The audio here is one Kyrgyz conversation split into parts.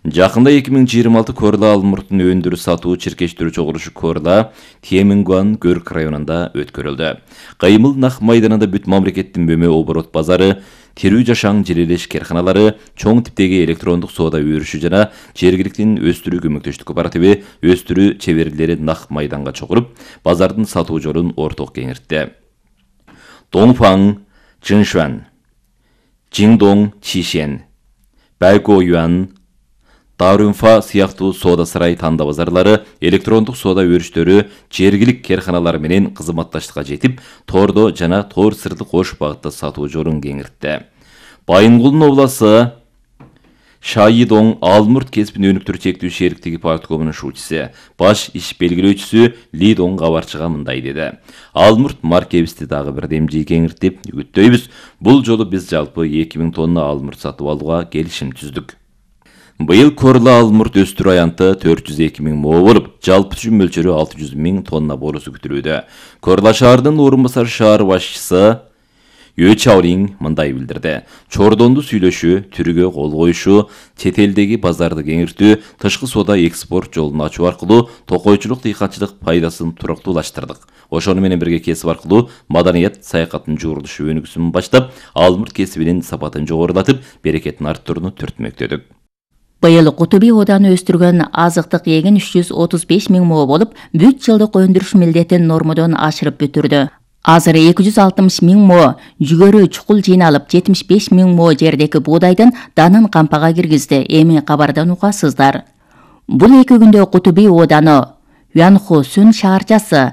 Жакында 2026 Корла Алмурттун өндүрүш сатуу чиркештирүү чогулушу Корла Темингуан Көрк районунда өткөрүлдү. Кыймыл нах майданында бүт мамлекеттин бөмө оборот базары, тирүү жашаң желелеш керканалары, чоң типтеги электрондук соода өрүшү жана жергиликтин өстүрүү көмөктөштүк кооперативи өстүрүү чеберлери нах майданга чогулуп, базардын сатуу жолун орток кеңиртти. Доңфаң, Чыншуан, Жиңдоң, Чишен, Байгоюан, Дарунфа сыяктуу соода сарай танда базарлары, электрондук соода өрүштөрү жергилик керканалар менен кызматташтыкка жетип, тордо жана тор сырды кош багытта сатуу жолун кеңиртти. Байынгулдун обласы Шайидоң Алмурт кесипин өнүктүрүү чектүү шериктиги парткомунун шуучусу, баш иш белгилөөчүсү Лидоң кабарчыга мындай деди. Алмурт маркебизди дагы бир демжи кеңиртип үгүттөйбүз. Бул жолу биз жалпы 2000 тонна алмурт сатып алууга келишим түздүк. Быйыл Корла Алмурт өстүрүү аянты 402 000 мо болуп, жалпы түшүм мөлчөрү 600 000 тонна болуусу күтүлүүдө. Корла шаарынын орун басар шаар башчысы Өчаурин мындай билдирди. Чордонду сүйлөшүү, түрүгө кол коюшу, чет элдеги базарды кеңиртүү, тышкы соода экспорт жолун ачуу аркылуу токойчулук дыйканчылык пайдасын туруктуулаштырдык. Ошону менен бирге кесип аркылуу маданият саякаттын жуурулушу өнүгүүсүн баштап, Алмурт кесибинин сапатын жогорулатып, берекетин арттырууну түртмөктөдүк. Быйыл Кутуби ооданы өстүргөн азыктык эгин 335 000 мо болуп, бүт жылдык өндүрүш милдетин нормодон ашырып бүтүрдү. Азыр 260 000 мо жүгөрү чукул жыйналып, 75 000 мо жердеки буудайдын данын кампага киргизди. Эми кабардан угасыздар. Бул 2 күндө Кутуби ооданы Юанхосун шаарчасы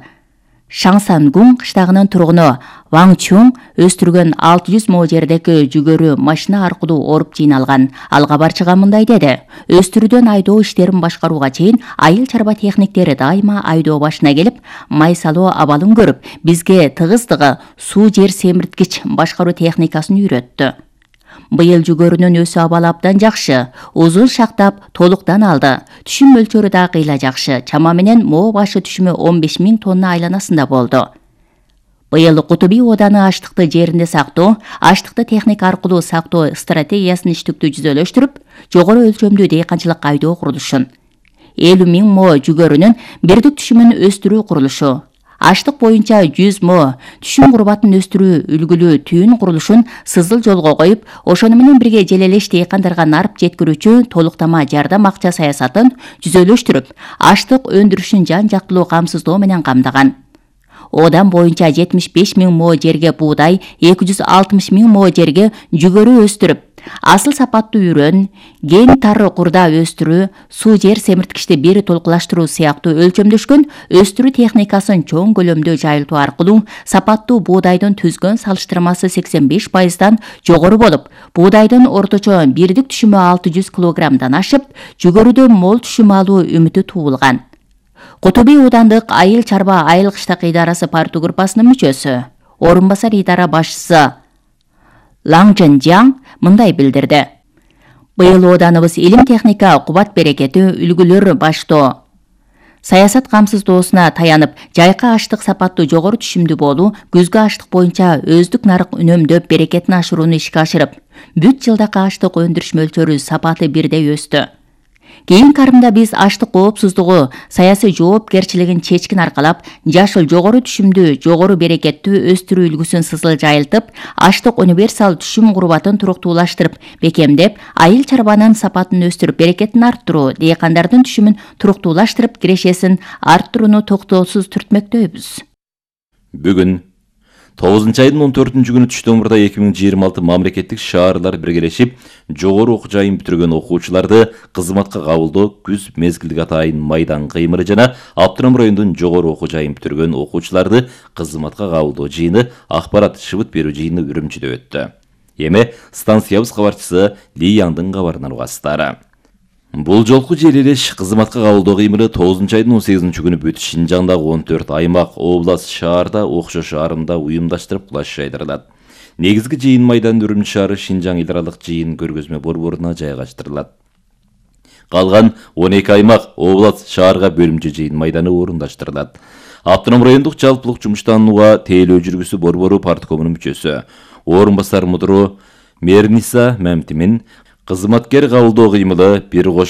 Шаңсангун кыштагынын тургуну Ваң Чун өстүргөн 600 мо жердеки жүгөрү машина аркылуу оруп жыйналган. Ал кабарчыга мындай деди. Өстүрүүдөн айдоо иштерин башкарууга чейин айыл чарба техниктери дайыма айдоо башына келип, май салуу абалын көрүп, бизге тыгыздыгы суу жер семирткич башкаруу техникасын үйрөттү. Быйыл жүгөрүнүн өсүү абалы абдан жакшы, узун шактап толуктан алды. Түшүм мөлчөрү да кыйла жакшы. Чама менен мо башы түшүмү 15 000 тонна айланасында болду. Быйыл Кутуби ооданы аштыкты жеринде сактоо, аштыкты техника аркылуу сактоо стратегиясын иштиктүү жүзөлөштүрүп, жогору өлчөмдүү дыйканчылык айдоо курулушун, 50 000 мо жүгөрүнүн бирдик түшүмүн өстүрүү курулушу, аштык боюнча 100 мо түшүм курбатын өстүрүү үлгүлүү түйүн курулушун сызыл жолго коюп, ошону менен бирге желелеш дыйкандарга нарып жеткирүүчү толуктама жардам акча саясатын жүзөлөштүрүп, аштык өндүрүшүн жан жактылуу камсыздоо менен камдаган. Одан боюнча 75 000 мо жерге буудай, 260 000 мо жерге жүгөрү өстүрүп, асыл сапаттуу үрөн, ген тары курда өстүрүү, суу жер семирткичти бери толкулаштыруу сыяктуу өлчөмдөшкөн өстүрүү техникасын чоң көлөмдө жайылтуу аркылуу сапаттуу буудайдын түзгөн салыштырмасы 85%дан жогору болуп, буудайдын орточо бирдик түшүмү 600 килограммдан ашып, жүгөрүдөн мол түшүм алуу үмүтү туулган. Кутуби оодандык айыл чарба айыл кыштак идарасы парту группасынын мүчөсү, орун басар идара башчысы Лаң Жан мындай билдирди. Быйылооданыбыз илим техника, кубат берекети, үлгүлөр баштоо, саясат камсыздоосуна таянып, жайкы аштык сапаттуу жогору түшүмдүү болуу, күзгү аштык боюнча өздүк нарык үнөмдөп, берекетин ашырууну ишке ашырып, бүт жылдакы аштык өндүрүш мөлчөрү сапаты бирдей өстү. Кийинки карымда биз аштык коопсуздугу, саясий жоопкерчилигин чечкин аркалап, жашыл жогору түшүмдүү, жогору берекеттүү өстүрүү үлгүсүн сызыл жайылтып, аштык универсал түшүм курбатын туруктуулаштырып, бекемдеп, айыл чарбанын сапатын өстүрүп, берекетин арттыруу, дыйкандардын түшүмүн туруктуулаштырып, кирешесин арттырууну токтоосуз түртмөктөйбүз. Бүгүн 9-айдын 14-күнү түштөн мурда 2026 мамлекеттик шаарлар биргелешип, жогору окуу жайын бүтүргөн окуучуларды кызматка кабылдоо күз мезгилдик атайын майдан кыймыры жана Аптырам районунун жогору окуу жайын бүтүргөн окуучуларды кызматка кабылдоо жыйыны, акпарат шыбыт берүү жыйыны Үрүмчүдө өттү. Эми станциябыз кабарчысы Ли Яңдын кабарынан угасыздар. Бул жолку желелеш кызматка кабылдоо кыймыры 9-айдын 18-күнү бүт Шинжаңдагы 14 аймак, область, шаарда окшош арымда уюмдаштырып кулаш жайдырылат. Негизги жыйын майдан Үрүмчү шаары Шинжаң идаралык жыйын көргөзмө борборуна жайгаштырылат. Калган 12 аймак, область, шаарга бөлүмчө жыйын майданы орундаштырылат. Аптырам райондук жалпылык жумуштанууга тейлөө жүргүсү борбору парткомунун мүчөсү, орун басар мудуру Мерниса Мемтимин кызматкер кабылдоо кыймылы бир кочлук